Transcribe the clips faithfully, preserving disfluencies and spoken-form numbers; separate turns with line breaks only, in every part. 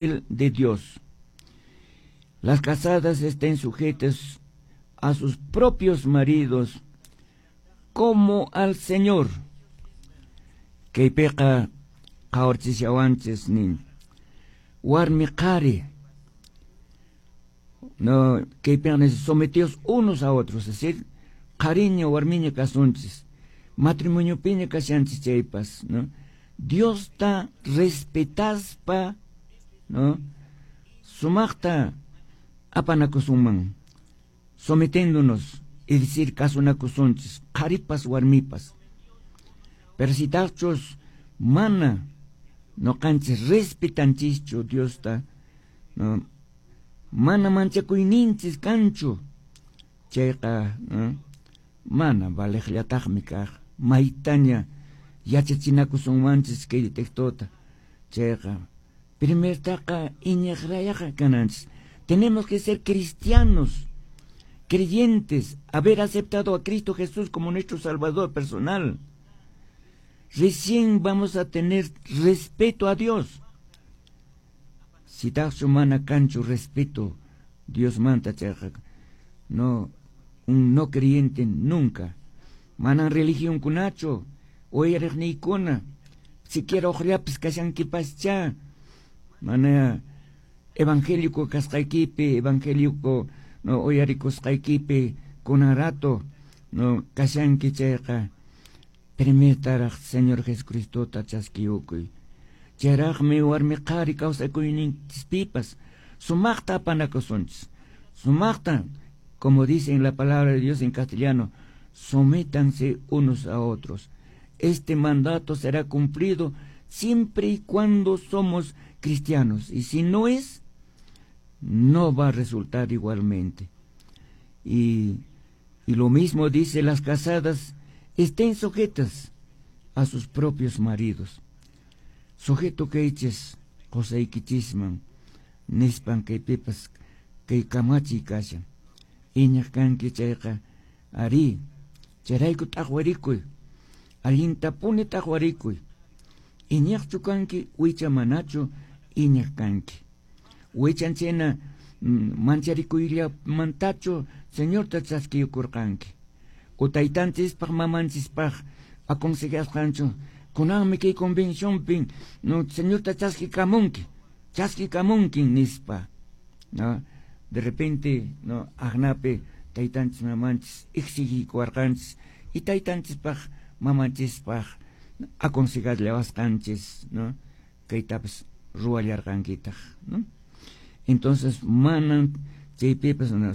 De Dios. Las casadas estén sujetas a sus propios maridos como al Señor. Kaypiqa qhawarchishawanchis nin warmi qhari, no, kaypiqa sometidos unos a otros, es decir, qhariña warmiña kasunchis, matrimoniopiña kashanchis chaypas, no, Diosta respetaspa, no, sumaqta apanakusunman, sometiéndonos, es decir, kasunakusunchis, qharipas warmipas. Pero si tachos mana noqanchis respetanchischu Diosta, no, mana manchakuyninchis kanchu, chayqa, no, mana valeqllataqmi kaq, maytaña yachachinakusunmanchis kay textota, chayqa primertaqa iñiqrayaqa kananchis. Tenemos que ser cristianos, creyentes, haber aceptado a Cristo Jesús como nuestro Salvador personal. Recién vamos a tener respeto a Dios. Si taqchu mana kanchu respeto Dios manta chayqa, no, un no creyente nunca. Manan religionkunachu, uyariqniykuna, siquiera uqllapis kashankipascha, mana evangélico kasqaykipi, evangélico no uyarikusqaykipi kunan rato no kashanki chayqa, primertaraq Señor Jesucristota chaskiyukuy. Chayraqmi warmi qhari kawsakuyninchispipas sumaqta apanakusunchis. Sumaqta, como dice en la palabra de Dios en castellano, sométanse unos a otros. Este mandato será cumplido siempre y cuando somos cristianos. Y si no es, no va a resultar igualmente. Y, y lo mismo dice: las casadas estén sujetas a sus propios maridos. Sujeto kaychis qosaykichisman nispan kaypipas kay kamachiy kashan. Iñaq kanki chayqa, arí, chayrayku t'aqwarikuy, allintapuni t'aqwarikuy. Iñaqchu kanki wicha manachu iñaq kanki. Wichan chayna mancharikuyllamantachu Señorta chaskiyukurqanki. O taytanchispaq mamanchispaq aconsejasqanchu, kunanmi kay convencionpi, no, Señorta chaskikamunki, chaskikamunki nispa, no, de repente, no, aqnapi taytanchis mamanchis exigikuwarqanchis y taytanchispaq mamanchispaq aconsejallawasqanchis, no, kaytapas ruwallarqankitaq, no. Entonces manan chaypipas, no,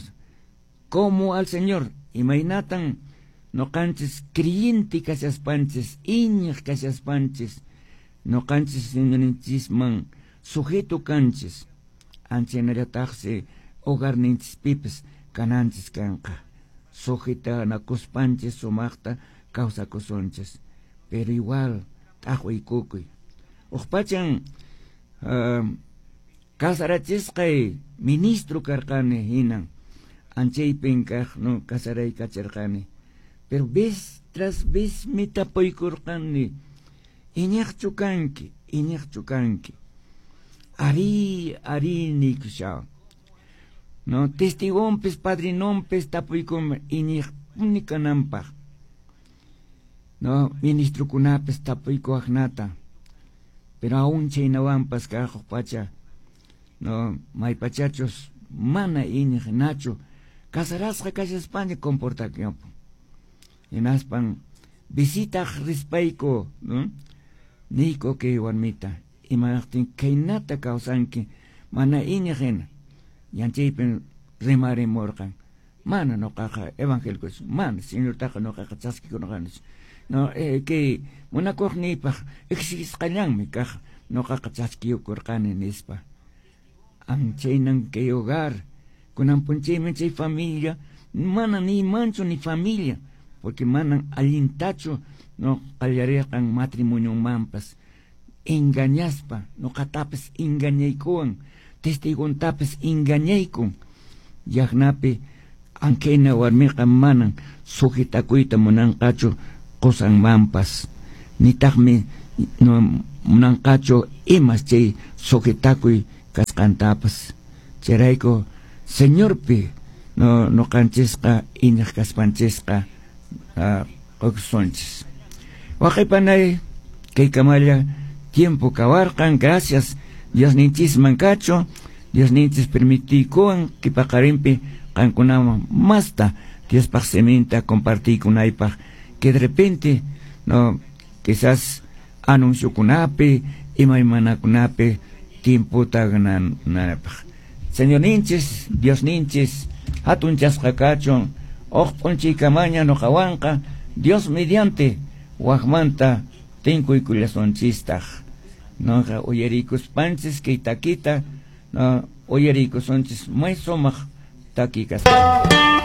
como al Señor, imaynatan noqanchis creyente kashaspanchis, iñiq kashaspanchis, noqanchis Señorninchisman sujeto kanchis, anchaynallataqsi hogarninchispipas kananchis kanqa, sujetanakuspanchis sumaqta kawsakusunchis, pero igual t'aqwiykukuy. Huk pachan uh, casarachisqay ministro karqani hinan, anchaypin kaq, no, casaraykachirqani. Pero vez tras vez mi tapuykurqani, iñiqchu kanki, iñiqchu kanki. Arí, arí nikusha. No, testigonpis, padrinonpis tapuykum iñiqpuni kananpaq. No, ministrokunapis tapuykuwaqnata. Pero aún chaynawanpas kaq pacha, no, maypachachus mana iñiq nachu, casarasqa kashaspaña comportakuyanpun. Hinaspan visitaq rispayku, no, niyku kay warmita, imanaqtin khaynata kawsanki mana iñiq hina. Yanchaypin rimarimurqan, mana noqaqa evangélico, mana Señortaqa noqaqa chaskikurqanichu. No, eh, kay munakuqniypaq exigisqallanmi kaq noqaqa chaskiyukurqani nispa. Anchaynan kay hogar, kunan punchaymi chay familia, mana ni manchu ni familia, porque manan allintachu no qallarirqan matrimonionmanpas, engañaspa, noqatapas engañaykuwan, testigontapas engañaykun. Yaqnapi ankayna warmiqa manan sujetakuyta munanqachu qosanmanpas, nitaqmi no munanqachu imas chay sujetakuy kasqantapas. Chayrayku Señorpi no noqanchisqa iñiq kaspanchisqa qokusunchis. Waqaypanay kay kamalla tiempo kawarqan, gracias Diosninchisman kachu, Diosninchis permitiykuwan kipaqarinpi qankunaman masta Diospaq siminta compartiykunaypaq, que de repente no quizás anunciokunapi imaymanakunapi tiempota gananapaq. Señorninchis, Diosninchis, hatunchasqa kachun, uq p'unchaykamaña nuqawanqa Dios mediante waqmanta tinkuykullasunchistaq. Noqa uyarikuspanchis kay takita, no uyarikusunchis may sumaq taki kasqa.